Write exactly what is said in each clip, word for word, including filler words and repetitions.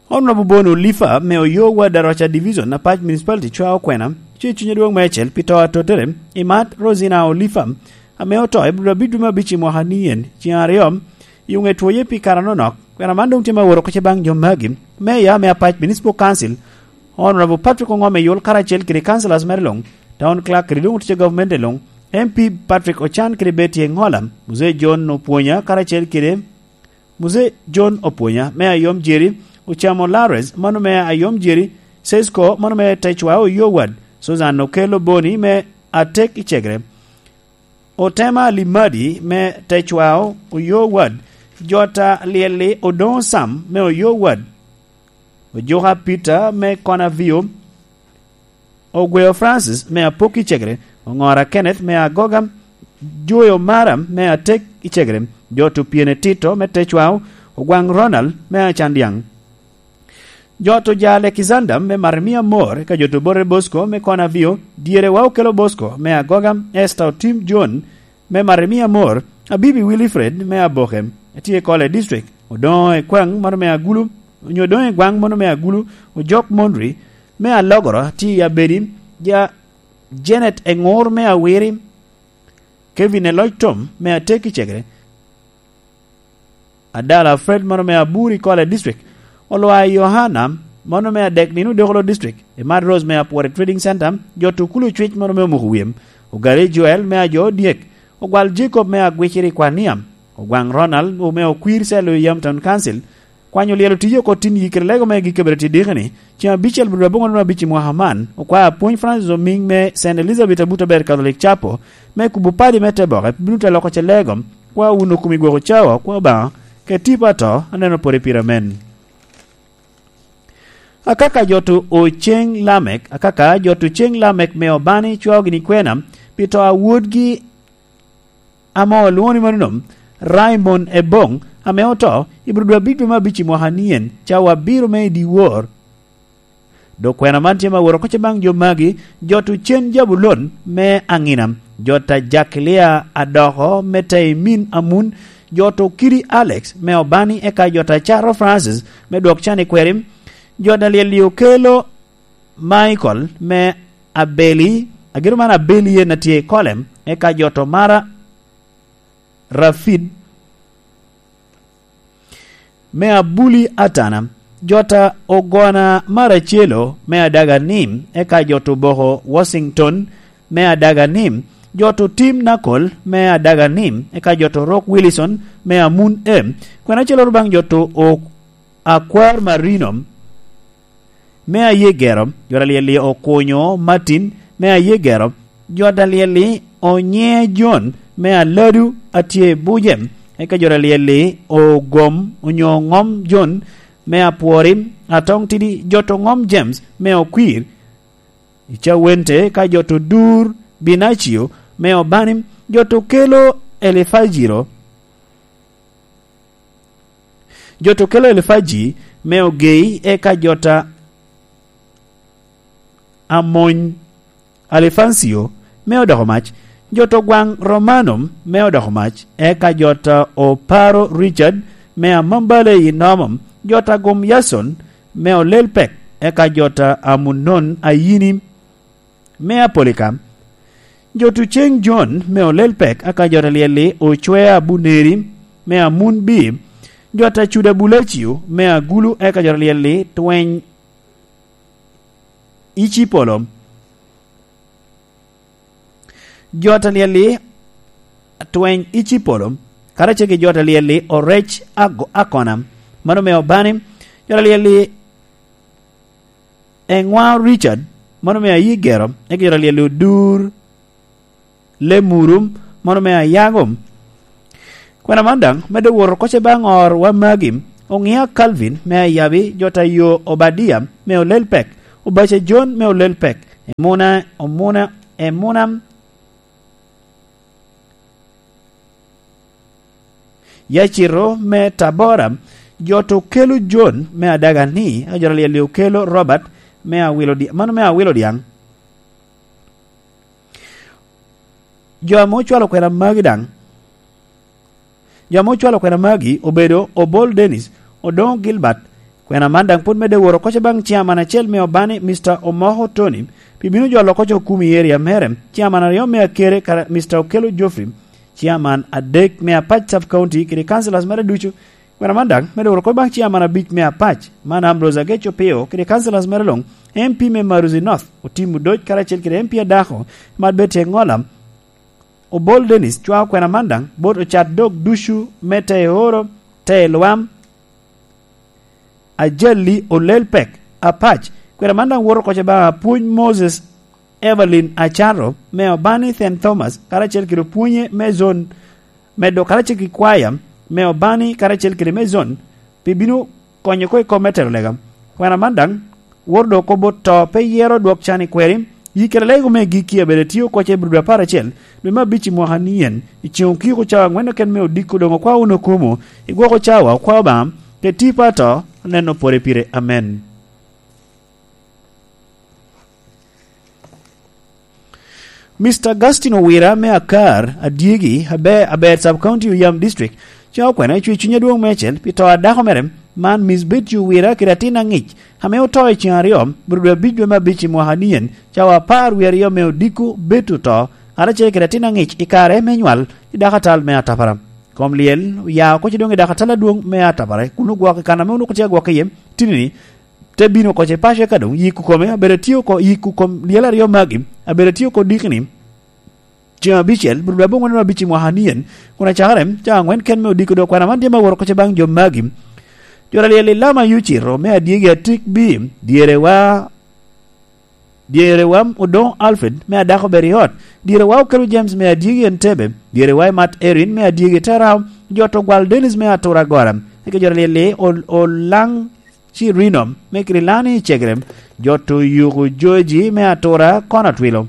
Honorable Bon Olifa me Oyo Ward Aroca Division, Apac Municipality, cwao kwena ce Cuny Adwoŋ Meicel pi to atottere i Mat Rosina Olifa, ame oto i Abril abic dwe me abic i mwaka ni en, ceŋ aryo, i oŋe twoye pi kare anonok. Kwena man doŋ tye ma woro kece baŋ jo magi. Meya me Apac Municipal Council, Honorable Patrick Oŋom Eyul, karacel kede councillors mere luŋ, Town Clerk kede doŋ otic a gavumenti luŋ, M P Patrick Ocan kede Betty Eŋola, Mzee John Opwonya, karacel kede Mzee John Opwonya me Ayom Jeri, Ocamo Lares, mano me Ayom Jeri, Sesko, mano me Techwa Oyo Ward, Susan Okello Boni me Atek i Cegere, Otema Limadi me Techwa Oyo Ward, Jota Lyelli Odoŋo Sam me Oyo Ward, Ojuka Peter me Konavio, Ogweo Francis me Apok i Cegere, Oŋora Kenneth me Agoga, Joyo Mara me Atek i Cegere, Joto Pyene Tito me Techwao, Ogwaŋ Ronald me Acandyaŋ. Joto ja Alexander me Marimia Mor, ka Joto Borre Bosco me Konavio, Dyere wa Okelo Bosco me Agoga, Esther Otim John me Marimia Mor, Abibi Wilfred me Aboke, tye i Kole District, Odoŋo Ekwaŋ mano me Agulu, onyo Odoŋo Egwaŋ mano me Agulu, Ojok Mondri me Alogoro, tye i Abedi, ja Janet Eŋur me Awiri, Kevin Eloc Tom me Atek i Cegere, Adala Fred mano me Aburi Kole District, Olwa Yohana mano me Adek Nino Dokolo District, Emad Rose me Apwore Trading Center, Joto Kulu Cwic mano me Omuko Wim, Ogari Joel me Ajo Odyek, Ogwal Jacob me Agwiciri Kwania, Ogwaŋ Ronald me Okwir Celo i Yam Town Council, kwanyo lyel otio oko tin yikere lego me gik kabedo tye diki ni, ceŋ abicel bulu aboŋo nino abic i mwaka man, okwao apwony Francis Omiŋ me Saint Elizabeth Abuto Aber Catholic Chapel, me kubo padi me te boke, bino te loko ce lego, kwa wun okumi gwoko cawa, kwa Obaŋa, ke tipo ato, aneno pwod i pira men. Akaka jo to oceŋ Lamek, akaka jo to ceŋ Lamek me Obani cwao gini kwena, pi to a wodgi ame olwoŋo ni manono, Raimon Eboŋ, ame oto i bur dwe abic dwe me abic i mwaka nien, cawa abiro me i dyewor. Dok kwena man tye ma woro kocce baŋ jo magi, jo to cen Jabulon me Aŋina, jo ta Jakilia Adoko me Taimin Amun, jo to Kidi Alex me Obani, eka jo ta Caro Francis me Dwok Can i Kweri, jo ta Lyel-li Okelo Michael me Abeli, agiro man Abeli en a tye i Kolem, eka jo to Mara Rafid me Abuli Atana, jo ta Ogona Maracelo me Adaga Nim, eka jo to Boko Washington me Adaga Nim, jo to Tim Nakol me Adaga Nim, eka jo to Rock Willison me Amun Em, kwena acel oro baŋ jo to o-, Akwar Marino me Ayegero, jo ta Lyel-li Okunyo Martin me Ayegero, jo ta Lyel-li Onye John me Aladu a tye i Buje, eka jo ta Lyel-li Ogom onyo Ŋom John me Apwori, Atong Tidi, jo to Ŋom James me Okwir, i Cawente, ka jo to Dur Binacio me Obani, jo to Kelo Elifajiro, jo to Kelo Elifaji me Ogei, eka jo ta Amony Alifancio me Odoko Mac, jo to Gwaŋ Romano me Odoko Mac, eka jo ta Oparo Richard me Amambale i Nomo, jo ta Gum Yason me Olel Pek, eka jo ta Amunon Ayini me Apolika, jo to Ceŋ Jon me Olel Pek, eka jo ta Lyel-li Ocwea Buneri me Amun Bi, jo ta Cuda Bulacio me Agulu, eka jo ta Lyel-li Tweny Icipolo. Jo ta Lyel-li Tweny Icipolo, karacel ki jo ta Lyel-li Orec Ago-, Akona, mano me Obani, jo ta Lyel-li Eŋwa Richard, mano me Ayigero, eka jo ta Lyel-li Odur Lemuru, mano me Ayago. Kwena man daŋ medde woro kocce baŋ orwa magi, Oŋia Calvin me Ayabi, jo ta Yo Obadia me Olel Pek, Obaca John me Olel Pek, Emuna, Omuna, Emuna Yacito me Tabora, jo to Kelo John me Adaga ni, eka jo ta Lyel-li Okelo Robert me Awilo Di-, mano me Awilo Diaŋ. Jo ame ocwalo kwena magi daŋ, jo ame ocwalo kwena magi obedo Obol Dennis, Odoŋo Gilbert, Kwena man daŋ pwod medde woro koc baŋ ciaman acel me Obani, Mister Omoko Tony, pi bino jolo koc okum i eria mere, ciaman aryo me Akere, kara Mister Okello Geoffrey, ciaman adek me Apac Sub County, kede councillors mere ducu. Kwena man daŋ medde woro koc baŋ ciaman abic me Apac, man Ambrose Ageco Pio, kede councillors mere luŋ, M P me Maruzi North, Otim Odoc, karacel kede M P adako, Mat Betty Engola, Obol Dennis, cwao kwena man daŋ bot ocat dog ducu me Teoro, Telwam, Ajali, Olel Pek, Apac. Kwena man daŋ woto koc baŋ apwony Moses Evelyn Acaro me Obani Saint Thomas, karacel kede opwonye me zon, medo karacel ki kwaya me Obani karacel kede me zon, pi bino konyo oko i kop me telo lega. Kwena man daŋ woro dok kop bot to pe yero dwok can i kweri, yi kede lego me gikki abedo tye oko ce brudo apar acel, dwe me abic i mwaka ni en, i ceŋ okiko cawa aŋwen oken me odiko doŋ okwao wunu okumo, i gwoko cawa okwao Obaŋa, kede tipo ato, aneno pore pire. Amen. Mister Augustine Owira me Akar, Adyegi, Abe-, Aber Sub County, Oyam District, cwao kwena i cwe cuny adwoŋ meicel pi to a dako mere, man Miss Betty Owira kede atin aŋic, ame oto i ceŋ aryo, brudo abic dwe me abic i mwaka ni en, cawa apar wie aryo me odiko Betty oto, karacel kede atin aŋic i kare me nywal i dako atal me Atapara. Kom lyel oya oko ci doŋ i dako atal adwoŋ me Atapara, kun ogwoko i kan ame onwoŋo tye agwok iye, tini-ni, te bino oko ce paco, eka doŋ yiko kome abedo atye oko, yiko kom lyel aryo magi abedo atye oko dikini, ceŋ abicel, brudo aboŋwen abic i mwaka ni en, kun acakere cawa aŋwen ken me odiko dok kwena man tye ma woro oko ce baŋ jo magi. Jora lyel i Lama Yucito me Adyegi Atik B, dyere wa, dyere wa Odoŋo Alfred me Adako Beriot, dyere wa Okelo James me Adyegi Entebbe, dyere wa Imat Erin me Adyegi Terao, jot Ogwal Dennis me Atura Agora, eka jora lyel i Ol-, Olaŋ Cirino me Kirilani i Cegere, jot Oyuku Joji me Atura Kono Atwilo.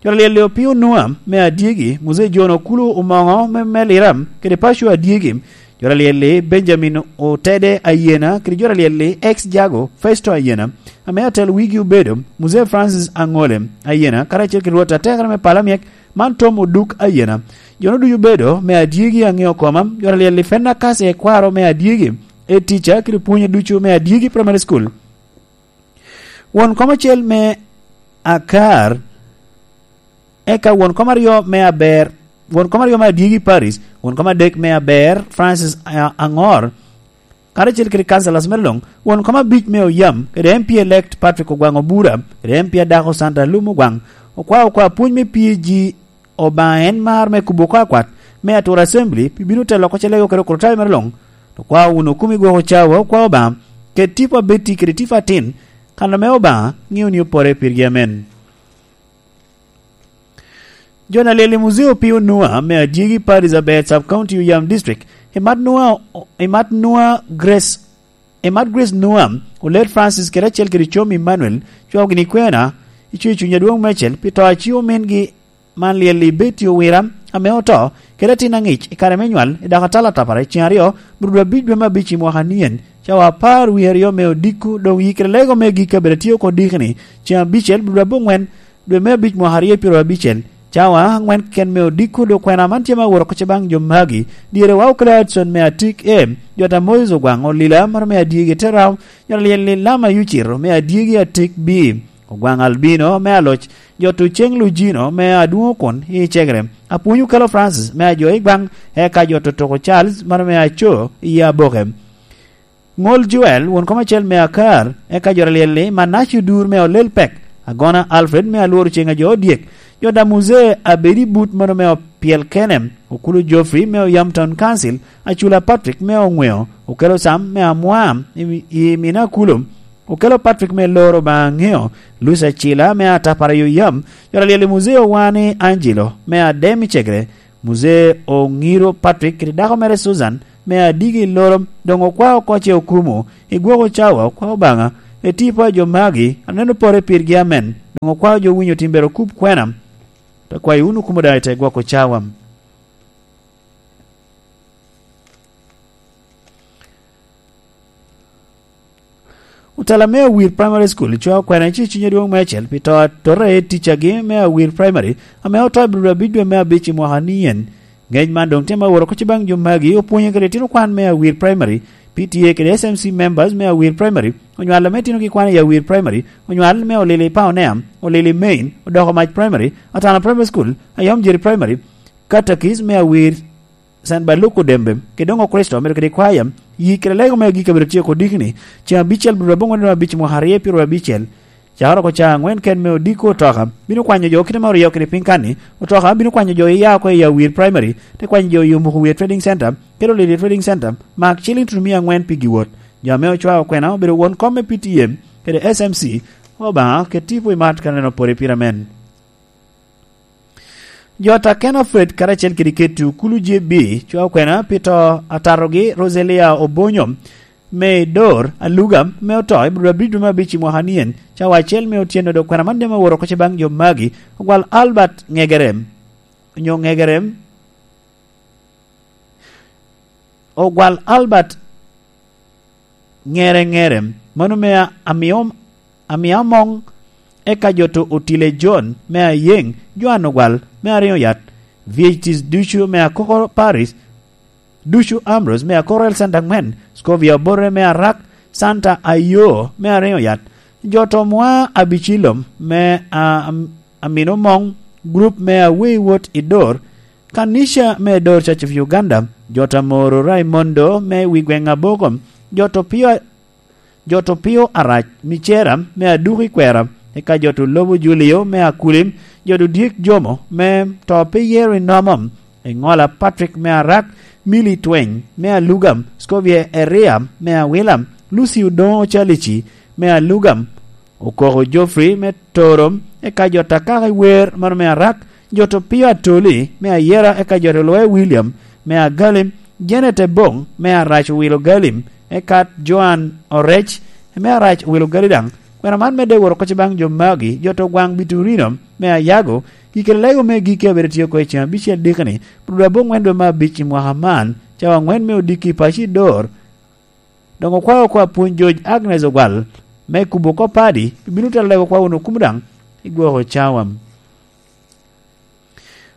Jora lyel i Opio Nua me Adyegi, Muzee John Okulu Omoŋo me, me Lira, kede paco Adyegi. Jora lyel i Benjamin Otede Ayena, kede jora lyel i Ex Jago Festo Ayena, ame atel wigi obedo Muzee Francis Aŋole Ayena, karacel kede Rwot Atekere me Pala Myek, man Tom Oduk Ayena. Jo-nu ducu obedo me Adyegi aŋeo koma, jora lyel i Fenakase Ekwaro me Adyegi, e tica kede pwonye ducu me Adyegi Primary School. Won kom acel me Akar, eka won kom aryo me Aber, won kom aryo me Adyegi Paris, won kom adek me Aber, Francis A-, Aŋor, karacel kede councillors mere luŋ, won kom abic me Oyam, kede M P elect Patrick Ogwaŋ Obura, kede M P adako Santa Lum Ogwaŋ, okwao okwa apwony me P G Obaŋa en mar me kubo oko akwat me Atura Assembly, pi bino telo oko ce lego kede okrutayo mere luŋ. Okwao wunu okumi gwoko cawa, okwao Obaŋa, kede tipo abetti kede tipo atin, kan ame Obaŋa ŋeo ni opore pirgi. Amen. Jo na lyel i Muzee Opio Nua me Adyegi Paris Aber Sub County Oyam District, Imat Nua, Imat Nua Grace, Imat Grace Nua, Olet Francis kede acel kede Com Emmanuel, cwao gini kwena, i cwe cuny adwoŋ meicel, pi to a ci omingi man lyel i Betty Owira, ame oto, kede atin aŋic i kare me nywal i dako atal Atapara i ceŋ aryo, brudo abic dwe me abic i mwaka nien, cawa apar wie aryo me odiko, doŋ yikere lego me gik kabedo atye oko dikini, ceŋ abicel, brudo aboŋwen, dwe me abic mwaka aryo pyero abicel, cawa aŋwen keken me odiko, dok kwena man tye ma woro oko ce baŋ jo magi, dyere wa okelo Hudson me Atik A, jota Moses Ogwaŋ Olila, mano me Adyegi Terao, jota lyel i Lama Yucito me Adyegi Atik B, Ogwaŋ Albino me Aloc, jot Oceng Lujino me Adwoŋ Okun i Cegere, Apwony Okelo Francis me Ajo i Gwaŋ, eka jot Otoko Charles, mano me Aco i Aboke. Ŋol Joel, won kom acel me Akar, eka jot alyel-li, Manaci Odur me Olel Pek, Agona Alfred me Alworo Ceŋ Ajo Odyek, jot a Muzee Abedi But, mano me Opyel Kene, Okulu Geoffrey me Oyam Town Council, Acula Patrick me Oŋweo, Okelo Sam me Amwam i, i Mina Kulo, Okelo Patrick me Loro Baŋeo, Lucy Acila me Atapara i Oyam, jot alyel i Muzee Owani Angelo me Adem i Cegere, Muzee Oŋiro Patrick kede dako mere Susan me Adigi i Loro, doŋ okwao oko ce okumo, i gwoko cawa okwao Obaŋa, i tipo a jo magi, aneno pore pirgi amen, doŋ okwao jo winyo timbere okup kwena. Akwayo wunu kumo daŋ i te gwoko cawa. Otela me Awir Primary School cwao kwena i ciciny adwoŋ me acel pi to atora i ticagi me Awir Primary, ame oto i Abril abic dwe me abic i mwaka nien. Ngec man doŋ tye ma woro kocci baŋ jo magi opwonyo kede itino kwan me Awir Primary, P T A kede S M C members me Awir Primary, onywal ame itinogi kwano i Awir Primary, onywal me Olili Paonea, Olili Main, Odoko Mac Primary, Atana Primary School, Ayom Jeri Primary, Katakis me Awir, San Baluku Dembe, kede doŋ Okricito, omedo kede kwaya, yi kede lego me agikki obedo tye oko dikni, ceŋ abicel, dwe aboŋwen dwe abic, mwaka aryo pyeraryo abicel, cakere oko ca aŋwen ken me odiko otoka, bino kwanyo jo kite ma oryeyo kede piny kan-ni, otoka bino kwanyo jo iya oko i Awir Primary, te kwanyo jo i Omuku Wiye Trading Center, kede Olili Trading Center, mak ciliŋ tutumia aŋwen pi giwot. Jo ame ocwao okwena obedo won kom me P T M kede S M C, Obaŋa ket tipo i mat ka neno pwod i pire men. Jo ta Ken Ofred karacel kede Ketu Kulu J B cwao okwena pi to atatogi Roselia Obonyo me Dor Aluga me oto i Bur abic dwe me abic i mwaka nien, cawa acel me otyeno. Dok kwena man dema woro oko ce baŋ jo magi, ogwal Albert Ŋegerem, onyo Ŋegerem, ogwal Albert Ŋere Ŋere, mano me Amio, Amia Moŋ, eka jo to Otile John me Ayeŋ, Joan Ogwal me Ariŋo Yat, V H Ts ducu me Akoko Paris, ducu Ambrose me Akoko L Santa aŋwen, Scovia Obote me Arak, Santa Ayo me Ariŋo Yat, jo to Mwa Abicilom me a-, am-, Amino Moŋ, group me Awei Wot i Dor, Kanisha me Dor Church of Uganda, jo ta Moro Raimondo me wi gweŋ Aboko, jo to Pio, jo to Pio Arac Micera me Aduku i Kwera, eka jo to Lobo Julio me Akulim, jo to Dyek Jomo me to pe yero i Nomo, Eŋola Patrick me Arak, Mili Tweny me Alugam, Scovia Eria me Awilam, Lucy Odoŋo Ocalici me Alugam, Okoko Geoffrey me Torom, eka jo ta Kaka i Wer mano me Arak, jo to Pio Atoli me Ayera, eka jo to Loya William me Agalim, Janet Ebong me Arac Owilo Galim, eka Joan Orec me Arac Owilo Gali daŋ. Kwena man medde woro oko ce baŋ jo magi, jo to gwaŋ Biturino me Ayago, gikere lego me gikki abedo tye oko i ceŋ abicel dikini, pwodo aboŋwen dwe me abic i mwaka man, cawa aŋwen me odiki i paco i Dor, Doŋ okwao oko apwony George Agnes Ogwal me kubo oko padi, pi bino telo lego kwa wunu kumo daŋ i gwoko cawa.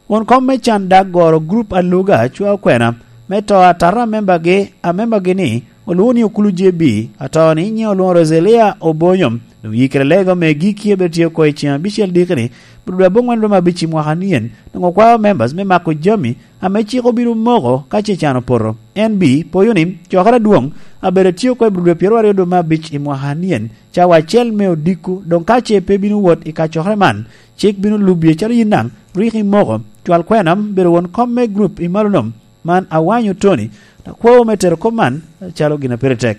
Won kom me can dak goro grup Aluga cwa okwena me to atata amembagi, amembagi ni olwoŋo ni Okulu J B, ato ni nyiŋe olwoŋo Roselia Obonyo, doŋ yikere lego me gikki ebe tye oko i ceŋ abicel dikini, bot dwe aboŋwen dwe me abic i mwaka nien, doŋ okwao members me mako jami ame cik obino moko ka ce can opoto. N B poyo ni cokere adwoŋ abedo tye oko i bur dwe pyeraryo dwe me abic i mwaka anien, cawa acel me odiko, doŋ ka ce pe bino wot i kacokere man, cik bino lubbi acalo yin daŋ rik imoko. Cwal kwena bedo won kom me grup i malo nom man awanyo Tony, akwo me tero kop man acalo gin a pire tek.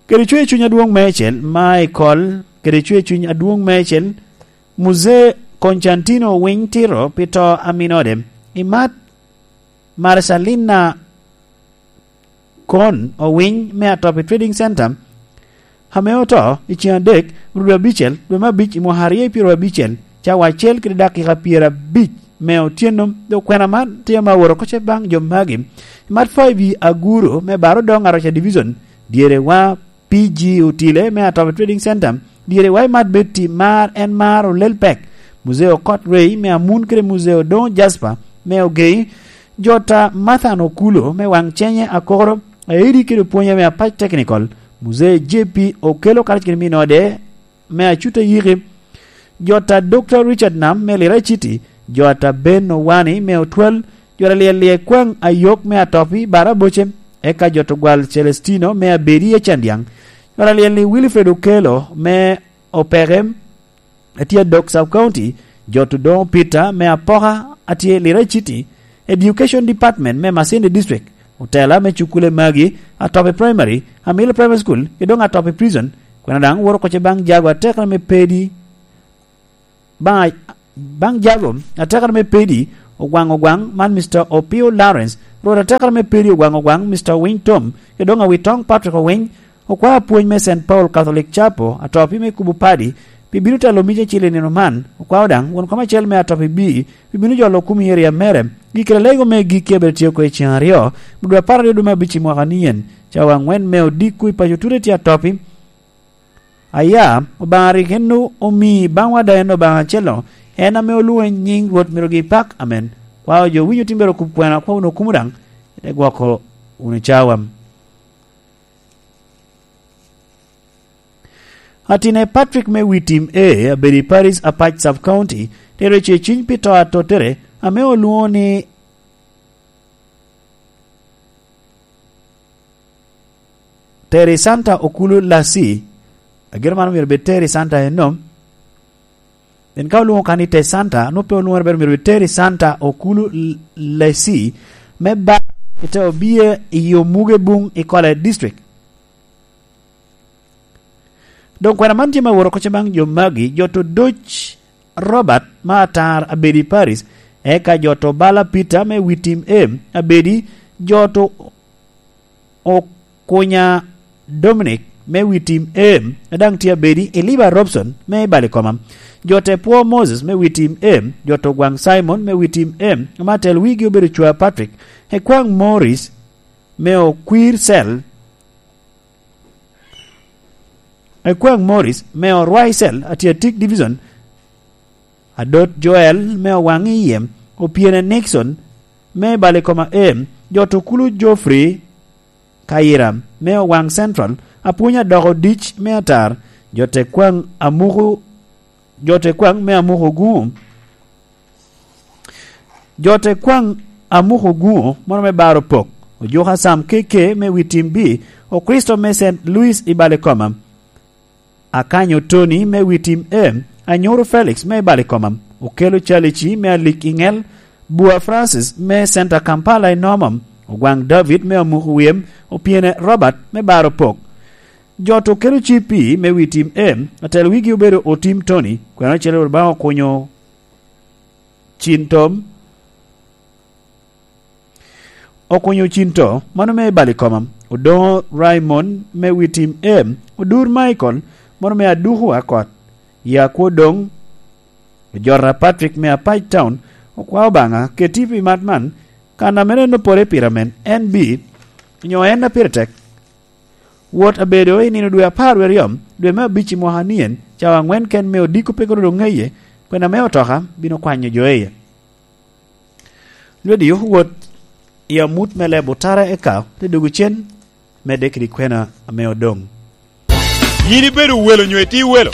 Kede cwer cuny adwoŋ meicel, ma i kol, kede cwer cuny adwoŋ meicel, Muzee Constantino Winy Tito pi to a minode, i mat Marcelina Kon Owiny me Atopi Trading Center, ame oto i ceŋ adek, ruu abicel, dwe me abic i mwaka aryo i pyeraryo abicel, cawa acel kede dakika pyerabic me otyeno. Dok kwena man tye ame aworo oko ce baŋ jo magi. Mat Five i Aguru me Baro Doŋ Aroca Division, dyere wa P G Otile me Atopi Trading Center, dyere wa i Mat Betty mar en mar olel pek, Muzee Okot Rey me Amun kede Muzee Odoŋo Jasper me Ogei, jo ta Mathan Okulo me Waŋ Cenye Akoro, Aidi kede opwonye me Apac Technical, Muzee J P Okelo karac kede minode me Acuta Yiki, jo ta Doctor Richard Nam me Lira City, jo ta Ben Owani me Otwal, jo ta Lyel Lyekwaŋ Ayok me Atopi Baraboce, eka jo ta Ogwal Celestino me Abedi Acandiaŋ, jo ta Lyel ni Wilfred Okelo me Opeke, atye Adok Sub County, jo ta Odoŋo Peter me Apoka, atye Lira City, Education Department me Masindi District, otela me cukule magi, Atopi Primary, Amilo Primary School, kede doŋ Atopi Prison, kwena daŋ woro oko ce baŋ jago atekere me pedi, baŋ, baŋ jago atekere me pedi, Ogwaŋ Ogwaŋ, man Mister Opio Lawrence, rwot atekere me pedi Ogwaŋ Ogwaŋ, Mister Owiny Tom, kede doŋ Awitoŋ Patrick Owiny, okwao apwony me Saint Paul Catholic Chapel, Atopi me kubo padi, pi bino telo mic acel i nino man. Okwao daŋ won kom acel me Atopi B, pi bino jolo kum i area mere. Gikere lego me gikki abedo tye oko i ceŋ aryo, dwe apar aryo dwe me abic i mwaka nien, cawa aŋwen me odiko i paco tute tye Atopi. Aya, Obaŋa rik en omi baŋwa daŋ en Obaŋa acel-lo, en ame olwoŋo nyiŋ Rwot myero gipak. Amen. Kwa jo winyo timbere okup kwena, kwa wunu okumo daŋ, ite gwoko wunu cawa. Atine Patrick me wi tim A, abedo i Paris Apac Sub County, tero ce cwiny pi to atottere, ame olwoŋo ni Terry Santa Okulu Lasi. Ageno man omyero bed Terry Santa enom. Pien ka olwoŋo ka ni Te Santa, nwoŋo pe olwoŋere, pero myero bed Terry Santa Okulu L-, Lesi, me ba i te obie i Omuge Buŋ i Kole District. Doŋ kwena man tye me woro kocce baŋ jo magi, jo to doc Robert ma atar abedi Paris, eka jo to bala Peter me wi tim em abedi, jo to Okunya Dominic me wi tim em, a daŋ tye abedi i Liba Robson me i Balikoma. Jo te pwo Moses me wi tim em, jo to gwaŋ Simon me wi tim em, ma tel wigi obedo Cwa Patrick, Ekwaŋ Morris me Okwir Cell, Ekwaŋ Morris me Orwai Cell, Atiatik Division, Adot Joel me Owaŋ i Yem, Opyene Nixon me Balikoma em, jo to kulu Geoffrey Kayira me Owaŋ Central, Apwony Adoko Dic me Atar, jo te kwaŋ Amuku, jo te kwaŋ me Amuku Guŋo, jo te kwaŋ Amuku Guŋo, mono me Baro Pok, Ojuka Sam K K me wi tim B, Okristo me Saint Louis i Balikoma, Akanyo Tony me wi tim A, Anyuru Felix me i Balikoma, Okelo Calici me Alik i Ŋel, Bua Francis me Center Kampala i Noma, Ogwaŋ David me Amuku Wiem, Opyene Robert me Baro Pok. Jo to Okelo Cipi me wi tim A, atel wigi obedo Otim Tony, kwena ocele Rwot Obaŋa okunyo Cin Tom, Okunyo Cin To, mano me i Balikoma, Odoŋo Raymond me wi tim A, Odur Michael, mano me Aduku Akot, Yakwo Doŋ, Ojota Patrick me Apac Town, okwao Obaŋa, keti pi mat man, kan a mene en opore pire amen, en bi, onyo en a pire tek. Wot abedo i nino dwe apar wie aryo, dwe me abic i mwaka nien, cawa aŋwen ken me odiko pe kono doŋ ŋeye, kwena me otoka bino kwanyo jo iye. Lwedi wot i amut me leb otara eka te dogo cen, medde kede kwena ame odoŋ. Yin ibedo welo nyo itye welo?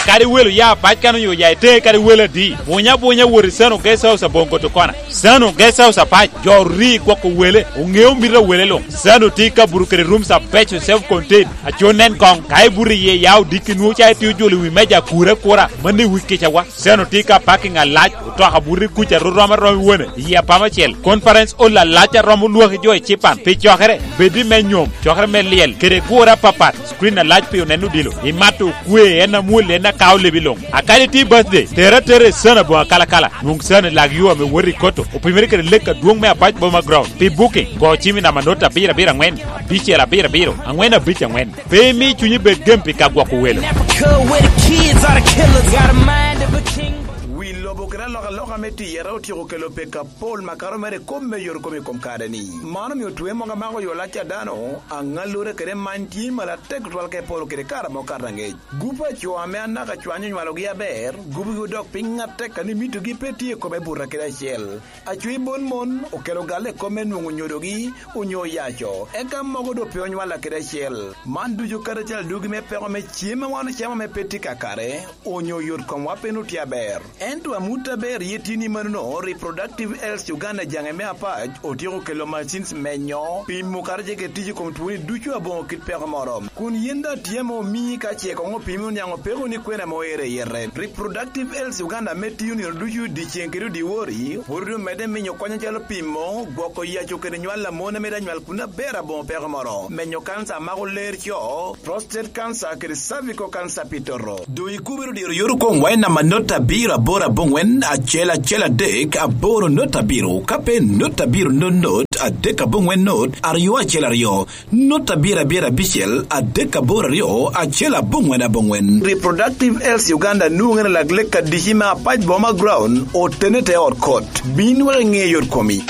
Kadi welo ya pac kan onyo ya ite kadi welo adi. Bunya bunya wot i Sano Guest House aboŋo koto kona. Sano Guest House apac, jo ori gwoko wele, oŋeo mito a wele luŋ. Sano tye i kabuto kede rooms abeco self contained. Aco nen koŋ, ka ibuto iye ya odiki nwoŋo ca itye ojolo i wi meja akura akura, mano i wi kicawa. Sano tye ka parking alac, otoka buto i kuca ro rom arom i wone, i apama acel. Conference hall alac aromo lwaki jo i cipan. Pi cokere, bed i me nyom, cokere me lyel, kede gure apapat, screen alac pi oneno odilo. Imato okwe, en amwol, en akao lebi luŋ. Akadi tye birthday, tere atera i Sano aboŋo akalakala. Nwoŋ Sano i lak yo ame wot i Koto, opimere kede lek adwoŋ me Apac Boma Ground. Pi booking, go cim i namba not abiro abiro aŋwen, abicel abiro abiro, aŋwen abic aŋwen. Pe imi cunyi bed gem pi ka gwoko welo. Never could where the kids are the killers. Got a mind of a king. Wi lobo kede alokaloka me tiyere otyeko kelo peko apol makato mere i kom me yore kom i kom kare-ni. Man omio twe mogo amako yo lac a dano, aŋallure kede many tye malo atek tutwal ka iporo kede kare amo kato aŋec. Gup a co ame anaka cwanyo onywalogi aber, gupugi odok piny atek a ni mitogi pe tye i kome buta kede acel. Acwi bon mon okelo galle i kome nwoŋo nyodogi onyo oyaco, eka mogo doŋ pe onywalla kede acel. Man ducu kadi acel adugi me peko me cem a wan ocamo ame pe tye kakare, onyo yot komwa pe nwoŋo tye aber. Ento amut aber ye tye ni manono, Reproductive Health Uganda jaŋe me Apac otyeko kelo machines menyo, pimo kadi ce kede tic i kom twoni ducu aboŋo kit peko moro. Kun yin daŋ tye ame omii ka ce koŋ opimi oniaŋ opeko ni kwena ame oero i yete. Reproductive Health Uganda ame tiyo nino ducu dyeceŋ kede odiwori, pwod omedde minyo kony acalo pimo, gwoko yaco kede nywal a mon ame daŋ nywal kun aber aboŋo peko moro, menyo kanca a mako ler co, prostate cancer kede cervical cancer pi toto. Doŋ ikubere diro yot okoŋ wa i namba not abiro aboro aboŋwen acel acel adek aboro not abiro, ka pe not abiro not not adek aboŋwen not aryo acel aryo. Not abiro abiro abicel adek aboro aryo acel aboŋwen aboŋwen. Reproductive Health Uganda nwoŋere lak lek adici me Apac Boma Ground, otene te ot kot. Bin wek iŋe yot komi.